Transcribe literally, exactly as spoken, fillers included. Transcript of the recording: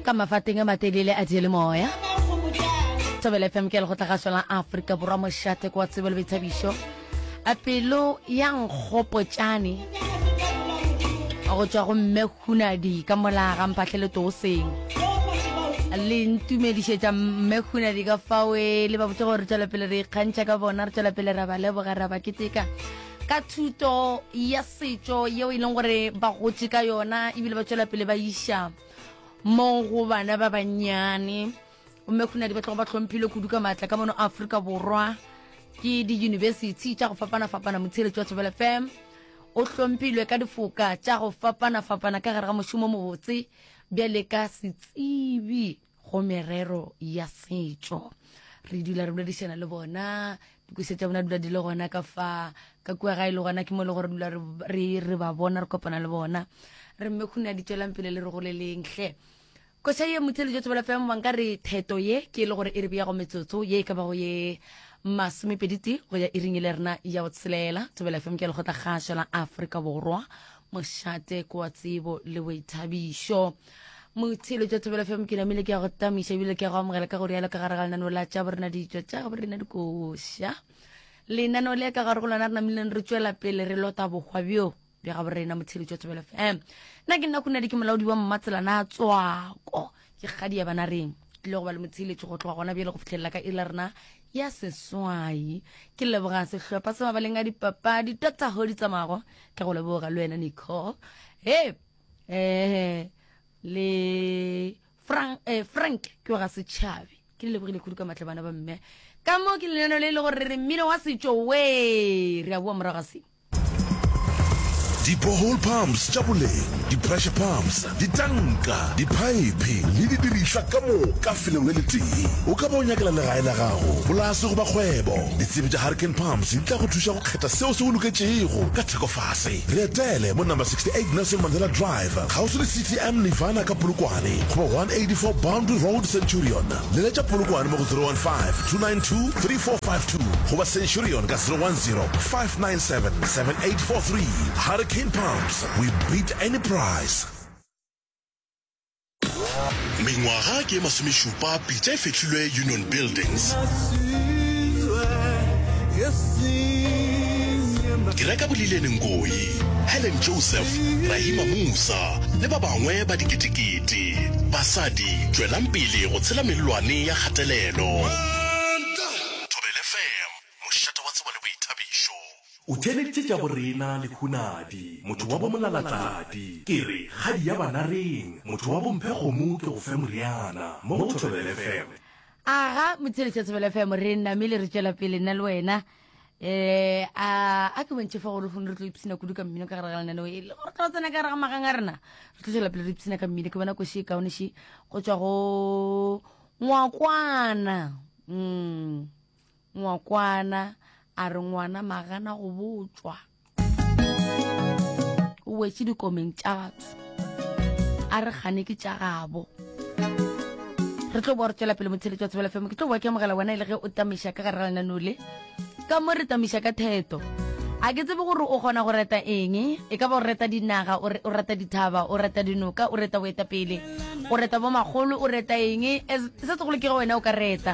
Ka mafateng a matelele a diyalemoya. Thobela F M ke lekgotlagašo la Afrika Borwa, mošate kwa tsebo le boithabišo. A pelo ya nkgopotšane go tšwa go mme Hunadi ka mola ga Mphahlele Tooseng. Le ntumedišetša mme Hunadi ka fawe le ba botse gore re tšwela pele re ikgantšha ka bona, re tšwela pele ra ba leboga, ra ba keteka ka thuto ya setšo yeo e leng gore ba gotše ka yona, ebile ba tšwela pele ba iša mo go bana ba bannyane. Mme Hunadi ba tlogo ba hlomphile kudu ka maatla ka mono Afrika Borwa ke di-university tša go fapana-fapana. Motshireletši wa Thobela F M o hlomphilwe ka difoka tša go fapana-fapana ka gare ga mošomo mobotse bjale ka setsebi go merero ya setšo. Re dula re boledišana le bona, dikoša tša bona dula di le gona ka fa ka kua gae le gona ke mo le gore dula re, re ba bona, re kopana le bona. Re mme Hunadi tšwelang pele le re goleleng hle. Koša ye motheletši wa Thobela F M, banka re theto ye ke e le gore e re bea go metsotso ye e ka bago ye masomepedi tee go ya iring e le rena ya go tshelela. Thobela F M ke lekgotlakgašo la Afrika Borwa, mošate kwa tsebo le boithabišo. Motheletši wa Thobela F M, ke namile ke ya go tamiša ebile ke ya go amogela ka go rialo ka gare ga lenaneo la tša borena ditšo tša borena dikoša. Lenaneo le ka gare go lona re namileng re tšwela pele re lota bohwa bjo bja ga borena. Motheletši wa Thobela F M, nna ke nna Khunadi, ke molaodi wa Mmatselana Tswako, ke kgadi ya bana reng tlile go ba le motheletši go tloga gona bjale go fihlelela ka iri la rena ya seswai. Ke leboga sehlopha sa mabaleng a dipapadi, Doctor Hodi Tsamago, ke go leboga le wena Nicole, he eh le Frank, eh, Frank ke wa ga Setšhabi. Ke le lebogile kudu ka matla bana ba mme. Ka mo ke lenaneo le e le gore re mmino wa setšo we re a boa morago ga se. Di-borehole pumps tša boleng, di-pressure pumps, ditanka, diphaephe le didirišwa ka moka felong le letee. O ka ba o nyakela legae la gago, polase goba kgwebo. Ditsebi tša Hurricane Pumps di tla go thuša go kgetha seo se o loketšego ka theko fase. Re etele mo number sixty-eight Nelson Mandela Drive, kgauswi le C T M Nirvana ka Polokwane, goba one eighty-four Boundary Road Centurion. Leletša Polokwane mo go zero one five, two nine two, three four five two goba Centurion ka zero one zero, five nine seven, seven eight four three. Hurricane Pumps, we beat any price. Mengwaga ke masomešupa pitša e fehlilwe Union Buildings. Ke reka Bolilene Ngoyi, Helen Joseph, Rahima Musa le ba bangwe ba diketekete. Basadi, tšwelang pele go tshela mellwane ya kgatelelo. Thobela F M, mošate wa tsebo le boithabišo. O theeleditše tša borena le Hunadi, motho wa bomolalatladi. Ke re kgadi ya banareng, motho wa bomphe kgomo ke go fe moriana, mo go Thobela F M. Aga, motheeletši wa Thobela F M, re namile re tšwela pele nna le wena. Eh, a, a ke bontšhe fa gore re tlo ipshina kudu ka mmino ka gare ga lenaneo e le gore tlo tsena ka gare ga magang a rena. Re tlo tšwela pele re ipshina ka mmino. Ke bona koši e kaone ši go tšwa go Ngwakwana. Mm. Ngwakwana a re ngwana magana go botšwa, o wetše dikomeng tša batho, a re gane ke tša gabo. Re tlo boa re tšwela pele motheletši wa Thobela F M. Ke tlo boa ke amogela wena e le ge o tamiša ka gare ga lenaneo le. Ka mo re tamiša ka theto. A ke tsebe gore o kgona go reta eng, e ka ba o reta dinaga, o re-, o reta dithaba, o reta dinoka, o reta boetapele, o reta bomakgolo, o reta eng. Se segolo ke ge wena o ka reta.